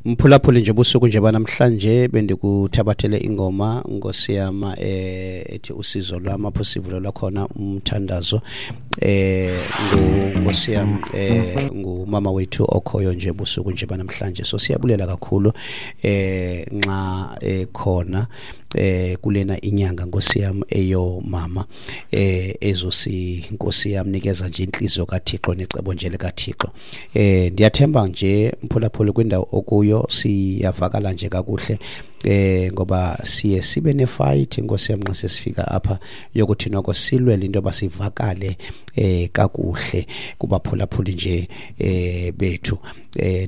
Mphulaphuli nje busuku nje banamhlanje bendikuthabathele ingoma Nkosi yam ethi usizo lwam apho sivulela khona umthandazo Nkosi yam ngumama wethu okhoyo nje busuku nje banamhlanje. So siyabulela kakhulu nxa ekhona kulena inyanga Nkosi yam eyomama ezosi Nkosi yam nikeza nje inhliziyo kaThixo necebo nje likaThixo. Ndiyathemba nje mphulaphuli kwindawo okuyo siyavakala nje kakuhle ngoba siye sibe nefight Nkosi yam nxa sesifika apha yokuthi noko silwele into yoba sivakale kakuhle kubaphulaphuli nje bethu.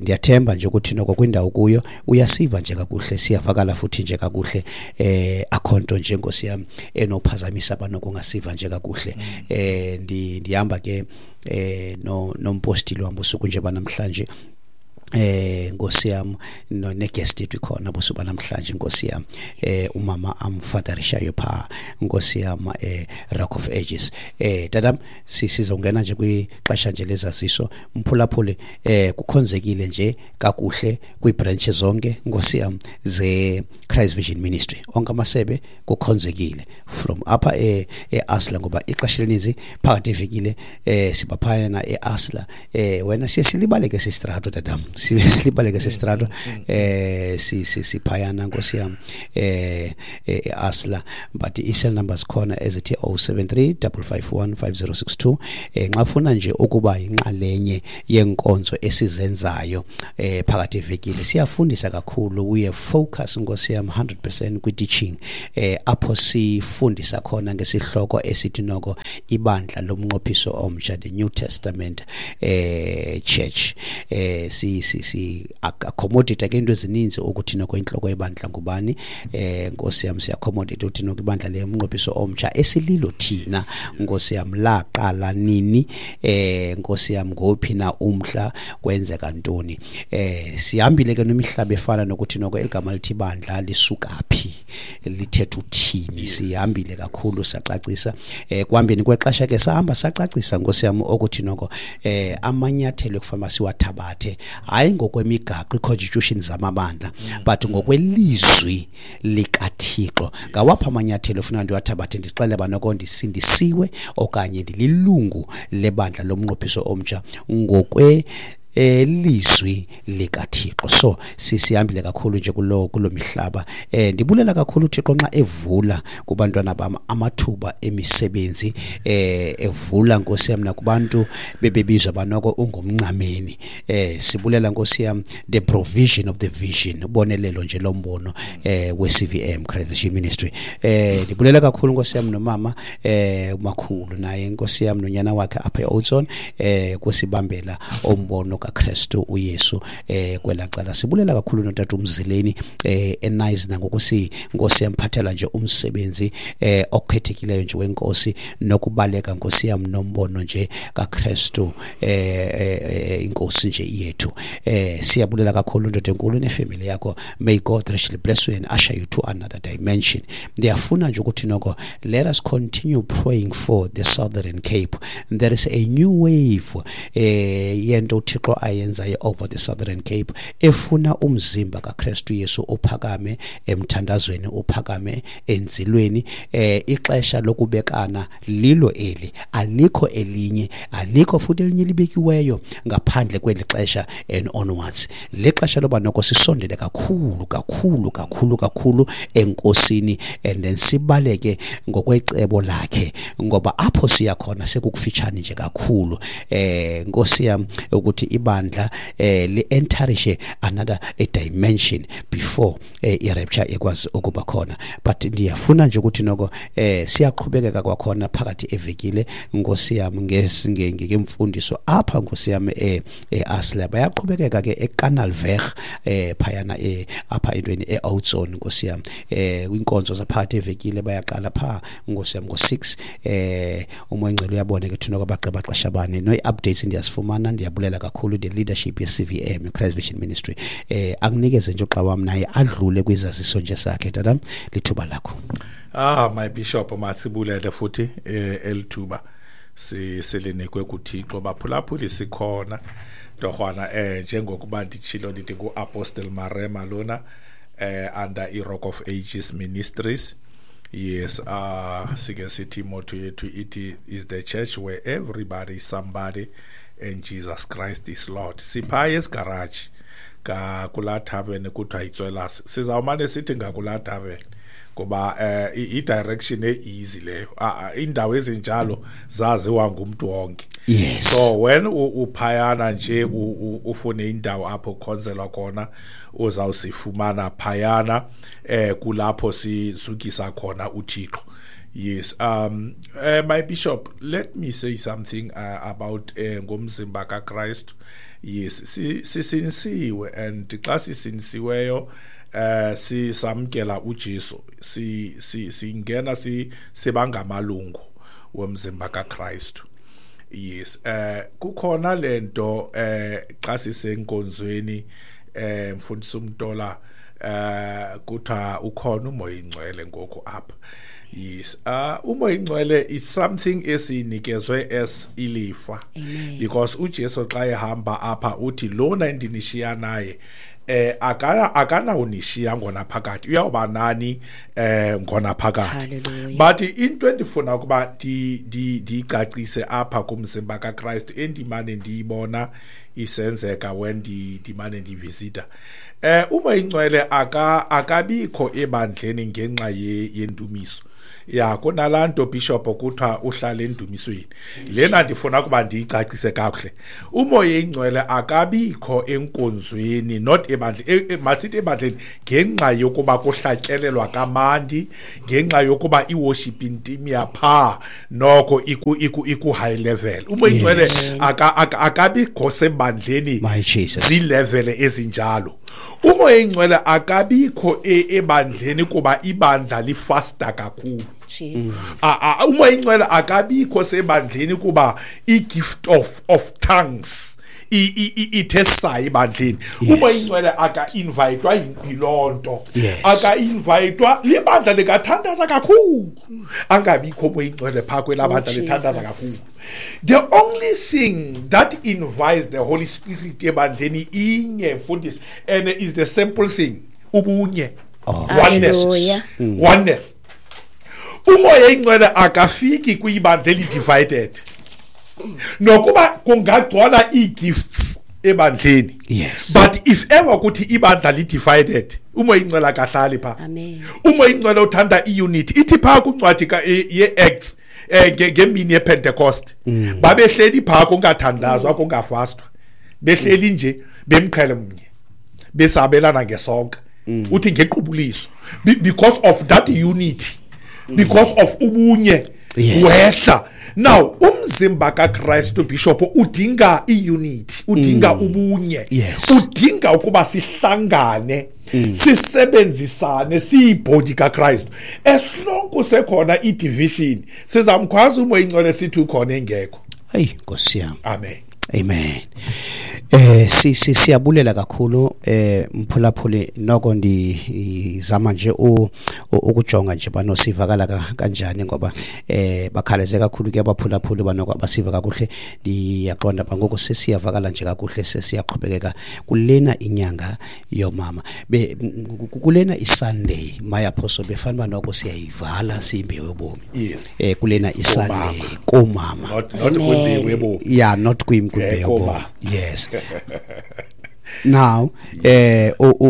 Ndiyathemba nje ukuthi noko kwindawo kuyo uyasiva nje kakuhle, siyavakala futhi nje kakuhle. Akho nto nje Nkosi yam enophazamisa abanokungasiva nje kakuhle. Ndihamba ke nompostile wam busuku nje banamhlanje Nkosi yam neguest yethu ikhona busuku namhlanje Nkosi yam umama amfatherishayo pha Nkosi yam Rock of Ages. Tata sizongena nje kwixesha nje lezaziso mphulaphuli. Kukhonzekile nje kakuhle kwii-branch zonke Nkosi yam ze Christ Vision Ministry, onke amasebe kukhonzekile from apha e-Asla, ngoba ixesha elininzi phakathi evekile sibaphayana e-Asla. Wena siye silibaleke sistrato tatam, siye silibaleke sistrato siphayana Nkosi yam e-Asla, but i-cell numbers khona ezithi 073 551 5062. Nxa ufuna nje ukuba yinxalenye yenkonzo esizenzayo phakathi evekile, siyafundisa kakhulu, we focus Nkosi yam 100% kwi-teaching apho sifundisa khona ngesihloko esithi noko ibandla lomnqophiso omtsha, the New Testament Church. Si accommodate ke into ezininzi ukuthi noko inhloko yebandla ngubani. Nkosi yam siya-accommodate ukuthi noko ibandla lomnqophiso omtsha esililo thina Nkosi yam laqala nini, Nkosi yam ngophi na umhla, kwenzeka ntoni. Sihambile ke nemihlaba efana nokuthi noko eligama lithi ibandla lisuka phi, lithetha uthini. Sihambile kakhulu sacacisa. Kuhambeni kwexesha ke sahamba sacacisa Nkosi yam ukuthi noko amanyathelo ekufanele siwathabathe, hayi ngokwemigaqo i-constitution zamabandla, but ngokwelizwi likaThixo. Ngawaphi amanyathelo ofuna ndiwathabathe ndixele ba noko ndisindisiwe okanye ndililungu lebandla lomnqophiso omtsha ngokwe elizwi likaThixo. So sisihambile kakhulu nje kulo mihlaba. Ndibulela kakhulu uThixo nxa evula kubantwana bam amathuba emisebenzi, evula Nkosi yam nakubantu bebebizwa banoko ungumncameni. Sibulela Nkosi yam the provision of the vision, ubonelelo nje lombono we-CVM Christ Vision Ministry. Ndibulela kakhulu Nkosi yam nomama umakhulu naye Nkosi yam nonyana wakhe apha e-Oudtshoorn kusibambela umbono kaKristu uYesu kwelacala. Sibulela kakhulu notata uMzileni eNice nangokusi Nkosi yamphathela nje umsebenzi okhethekileyo nje wenkosi nokubaleka Nkosi yam nombono nje kaKristu inkosi nje yethu. Siyabulela kakhulu ndoda enkulu nefamily yakho. May God richly bless you and usher you to another dimension. Ndiyafuna nje ukuthi noko let us continue praying for the Southern Cape. There is a new wave yento uThixo ayenzayo over the Southern Cape efuna umzimba kaKristu Yesu uphakame emthandazweni, uphakame enzilweni. Ixesha lokubekana lilo eli, alikho elinye, alikho futhi elinye libekiweyo ngaphandle kweli xesha and onwards. Lixesha loba noko sisondele kakhulu kakhulu kakhulu kakhulu enkosini and then sibaleke ngokwecebo lakhe, ngoba apho siya khona sekukufitshane nje kakhulu. Nkosi yam ukuthi ibandla li-enterishe another a dimension before i-rapture ikwazi ukuba khona. But ndiyafuna nje ukuthi noko siyaqhubekeka kwakhona phakathi evekile Nkosi yam ngemfundiso apha Nkosi yam e-Asla. Bayaqhubekeka ke eKanalweg phayana apha entweni e-Oudtshoorn Nkosi yam. Kwinkonzo zaphakathi evekile bayaqala pha Nkosi yam ngo-6. Umoya Ngcwele uyabona ke thina kwabagqiba xesha bani. No updates ndiyazifumana, ndiyabulela kakhulu the leadership ye-CVM Christ Vision Ministry. Akunikeze nje uxa wam naye adlule kwizaziso nje sakhe. Tata, lithuba lakho. My bishop, masibulele futhi elithuba silinikwe kuThixo. Baphulaphuli sikhona. Torhwana, njengokuba nditshilo ndithi ngu-Apostle Marema lona, under i-Rock of Ages Ministries. Yes, sike sithi motto yethu ithi is the church where everybody is somebody and Jesus Christ is Lord. Siphaya esigarage kulaa tavern kuthiwa yitswelas. Sizawumane sithi ngakulaa tavern kuba i-direction e-easy leyo. Iindawo ezinjalo zaziwa ngumntu wonke. Yes. So when uphayana nje ufune indawo apho kukhonzelwa khona, uzawusifumana phayana, kulapho sizukisa khona uThixo. Yes, my bishop, let me say something about ngomzimba kaKristu. Yes, sisinisiwe, and xa sisinisiweyo sisamkela uJesu, singena sibangamalungu womzimba kaKristu. Yes, kukhona lento xa sisenkonzweni, mfundisi uMtola, kuthiwa ukhona uMoya Ingcwele ngoku apha. Yes, uMoya Ingcwele is something esinikezwe as ilifa. Amen. Because uJesu xa ehamba apha uthi lona endinishiya naye akanawunishiya ngona phakathi, uyawuba nani ngona phakathi. Hallelujah. But into endifuna ukuba ndiyicacise apha kumzimba kaKristu endimane ndiyibona isenzeka when ndimane ndivisita, uMoya Ingcwele akabikho ebandleni ngenxa yendumiso. Ya, kunalaa nto bishop kuthiwa uhlala endumisweni. Lena ndifuna ukuba ndiyicacise kakuhle. uMoya Ingcwele akabikho enkonzweni, not ebandleni, masithi ebandleni ngenxa yokuba kuhlatyelelwa kamandi, ngenxa yokuba i-worship team yapha noko iku high level. uMoya Ingcwele akabikho sebandleni My Jesus. zilevel ezinjalo. uMoya Ingcwele akabikho ebandleni kuba ibandla lifasta kakhulu. Jesus. uMoya Ingcwele akabikho sebandleni kuba i-gift of tongues ithe sayi ebandleni. Yes. uMoya Ingcwele aka-invitwa yiloo nto. Yes. Aka-invitwa libandla likathandaza kakhulu. Angabikho uMoya Ingcwele phaa kwelaa bandla Oh, lithandaza Jesus. kakhulu. The only thing that invites the Holy Spirit ebandleni inye, mfundisi, and is the simple thing, ubunye. Oh. Oneness. Hallelujah. Oneness. uMoya Ingcwele akafiki kwibandla eli-divided. Nokuba kungagcwala ii-gifts ebandleni. Yes. But if ever kuthi ibandla li-divided, uMoya Ingcwele akahlali phaa. Amen. uMoya Ingcwele uthanda i-unity. Ithi phaa kwincwadi ye-Acts, ngemini yePentecost. Babehleli phaa kungathandazwa, kungafastwa. Behleli nje bemqhele mnye. Besabelana ngesonka. Uthi ngequbuliso. Because of that unity. Because of ubunye. Yes. Wehla. Now umzimba kaKristu bishop udinga i-unity, udinga ubunye. Yes. Udinga ukuba sihlangane, sisebenzisane, siyibody kaKristu. As long kusekhona i-division, sizamkhwaza uMoya Ingcwele sithi ukhona engekho. Hayi Nkosi yami. Amen. Amen. Siyabulela kakhulu, mphulaphuli, noko ndizama nje ukujonga nje banosivakala kanjani, ngoba bakhaleze kakhulu ke abaphulaphuli banoko abasiva kakuhle. Ndiyaqonda ba ngoku sesiyavakala nje kakuhle, sesiyaqhubekeka kulena inyanga yomama. Kulena iSunday mayaphoso befana ba noko siyayivala siyimbewu yobomi. Yes. Kulena Yes, iSunday komama. komama. Not Amen. kwimbewu yobomi. Yeah, not kwimbewu yobomi. Komama. Yes. Now,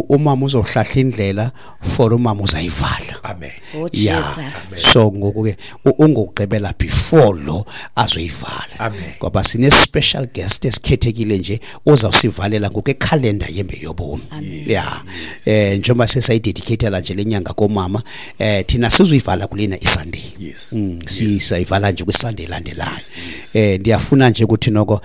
umama uzohlahla indlela for umama uzayivala. Amen. Oh, Yeah. Jesus. So ngoku ke ungokugqibela before lo azoyivala. Amen. Ngoba sine special guest esikhethekile nje ozawusivalela ngoku ekhalenda yembe yobomi. Amen. Yeah. Njengoba sesayidedicatela nje lenyanga komama, thina sizoyivala kulena iSunday. Yes. Sisayivala nje kwiSunday elandelayo. Yes, yes. Ndiyafuna nje ukuthi noko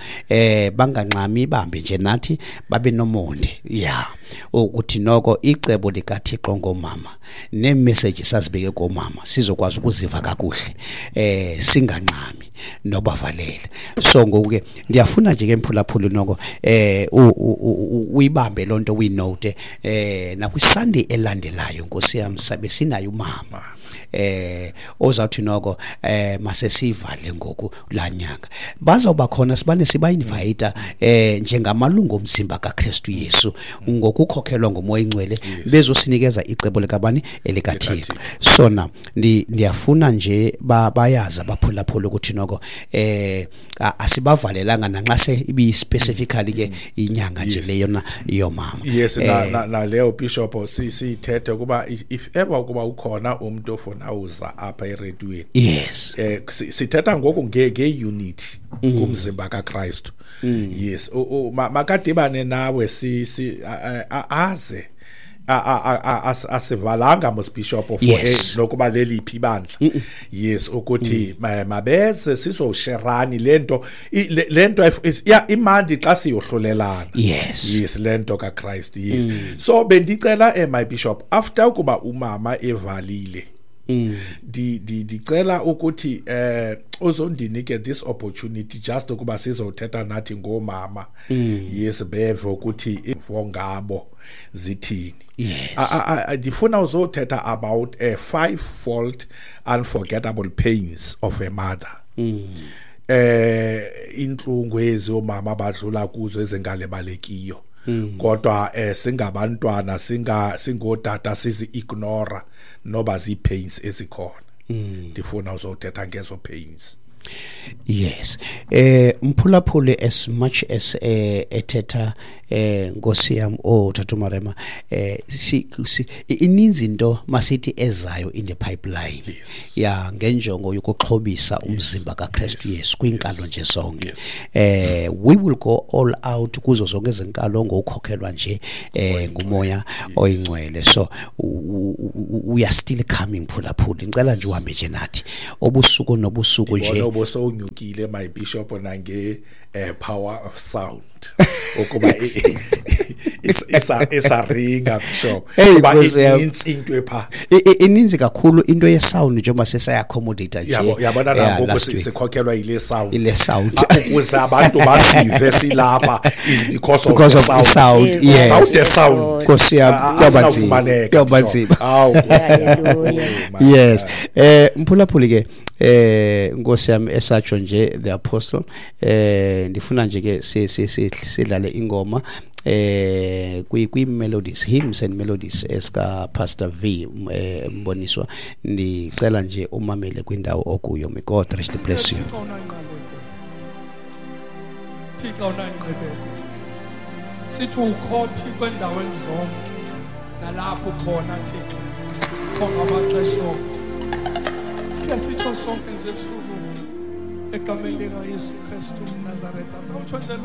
bangangxami, bambe nje nathi babe nomonde. Yeah. Ukuthi noko icebo likaThixo ngomama nemessage sazibeke komama sizokwazi ukuziva kakuhle, singangxami nobavalela. So ngoku ke ndiyafuna nje ke mphulaphuli noko uyibambe lonto uyinote, nakwiSunday elandelayo Nkosi yami sabe sinayo umama. Ozawuthi noko masesivale ngoku laa nyanga. Bazawuba khona, sibane siba-invite njengamalungu omzimba kaKristu Yesu ngokukhokhelwa nguMoya Ingcwele, bezosinikeza icebo likabani, elikaThixo. So na ndiyafuna nje bayazi abaphulaphula ukuthi noko asibavalelanga nanxa se ibi-specifically ke inyanga nje leyona yomama. Yes, na leyo, Bishop, sithethe ukuba if ever ukuba ukhona umuntu ofuna uza apha erediyweni, sithetha ngoku nge-unity kumzimba kaKristu. Yes, makadibane nawe, si si aze asivalanga mos, Bishop, for nokuba leliphi ibandla. Yes, ukuthi mabeze sizosherani lento, lento ya imandi xa siyohlolelana. Yes, lento kaChrist. Yes, so bendicela, my bishop, after ukuba umama evalile, ndicela ukuthi uzondinike this opportunity just ukuba sizothetha nathi ngomama. Yes, beve ukuthi imvo ngabo zithini. Ndifuna uzothetha about a five-fold unforgettable pains of a mother. Inhlungu ezi omama abadlula kuzo ezingalebalekiyo, kodwa singabantwana, singotata sizi ignore noba zi pains ezikhona. Ndifuna uzothetha ngezo pains. Yes, mphulaphuli, as much as ethetha, Nkosi yam, oh Tata Marema, si ininzi into masithi ezayo in the pipeline ya ngenjongo yokuxhobisa umzimba kaKristu Yesu kwinkalo nje zonke. We will go all out kuzo zonke izinkalo ngokukhokhelwa nje nguMoya Oyingcwele. So we are still coming, phulaphuli. Ngicela nje uhambe nje nathi obusuku nobusuku nje. Ndibona ubusowunyukile, my bishop, nange power of sound, ukuba isaringa, bishop, Hey, kuba Nkosi yam. inintsi into epha. Ininzi kakhulu into ye-sound njengoba sesaya-accommodate nje. Yabona Yeah, nangoku last week. sikhokhelwa yile sound. Ile sound. Ukuze abantu basive silapha is because of Because the of the sound. sound. Jesus. Yes. Without the sound, Nkosi yam, kuyoba nzima. asinawufumaneka, Kuyoba Bishop. nzima. Awu, Nkosi yam. Hallelujah. Oh, my Yes. God. Mphulaphuli ke, Nkosi yami, esatsho nje the apostle, ndifuna nje ke sidlale ingoma kwi melodies, hymns and melodies eska Pastor V Mboniswa. Ndicela nje umamele kwindawo okuyo. May God richly bless you. Thixo unangqaleko, Thixo unangqibeko, sithi ukho Thixo endaweni zonke, nalapho khona Thixo kho ngamaxesha onke. Sike sitsho sonke nje ebusuku egameni likaYesu Kristu umNazaretha, sawutsho nje.